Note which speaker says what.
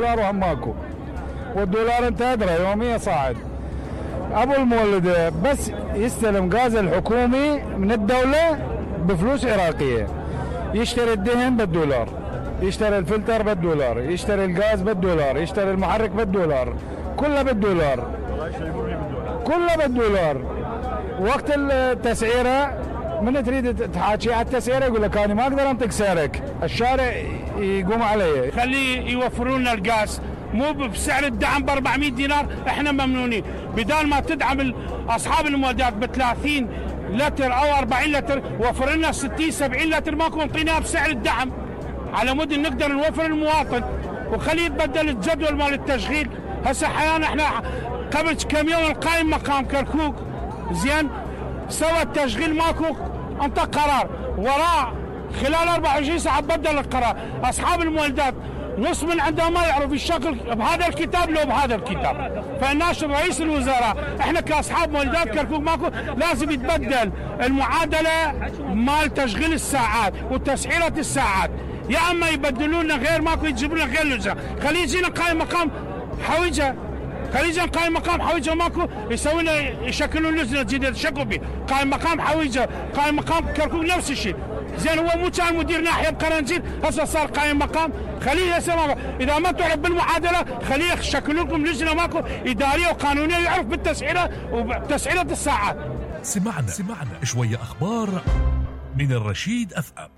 Speaker 1: دولار وهم ماكو، والدولار انت ادرى يوميا صاعد. ابو المولد بس يستلم غاز الحكومي من الدولة بفلوس عراقية، يشتري الدهن بالدولار، يشتري الفلتر بالدولار، يشتري الغاز بالدولار، يشتري المحرك بالدولار، كله بالدولار، كله بالدولار. وقت التسعيرة من تريد تحاكي على التسعيرة يقول لك انا ما اقدر انطق سعرك، الشارع يقوم علي.
Speaker 2: خليه يوفرون لنا الغاز مو بسعر الدعم ب 400 دينار، احنا ممنونين. بدال ما تدعم اصحاب المولدات ب 30 لتر او 40 لتر، وفر لنا 60 70 لتر ماكو انطيناها بسعر الدعم على مود نقدر نوفر المواطن، وخليه يتبدل الجدول مال التشغيل. هسه حيانا احنا قبل كم يوم القائم مقام كركوك زين سوى التشغيل ماكو، انطى قرار وراء خلال 24 ساعه بدل القرار. اصحاب المولدات نص من عندهم ما يعرف الشكل بهذا الكتاب لو بهذا الكتاب، فناشر رئيس الوزراء احنا كاصحاب مولدات كركوك ماكو لازم يتبدل المعادله مال تشغيل الساعات وتسعيره الساعات، يا اما يبدلون لنا غير ماكو يجيبون لنا غير لجنه. خليه يجينا قائم مقام حويجه، خليجا قائم مقام حويجه ماكو يسوي لنا يشكلون لجنه جديده يشكلوا به قائم مقام حويجه، قائم مقام كركوك نفس الشيء. زين هو مو كان مدير ناحيه بقرنجيل هسه صار قائم مقام، خليه هسه اذا ما تعرف بالمعادله خليه يشكلوا لكم لجنه ماكو اداريه وقانونيه يعرف بالتسعيره وتسعيره الساعات.
Speaker 3: سمعنا شويه اخبار من الرشيد FM.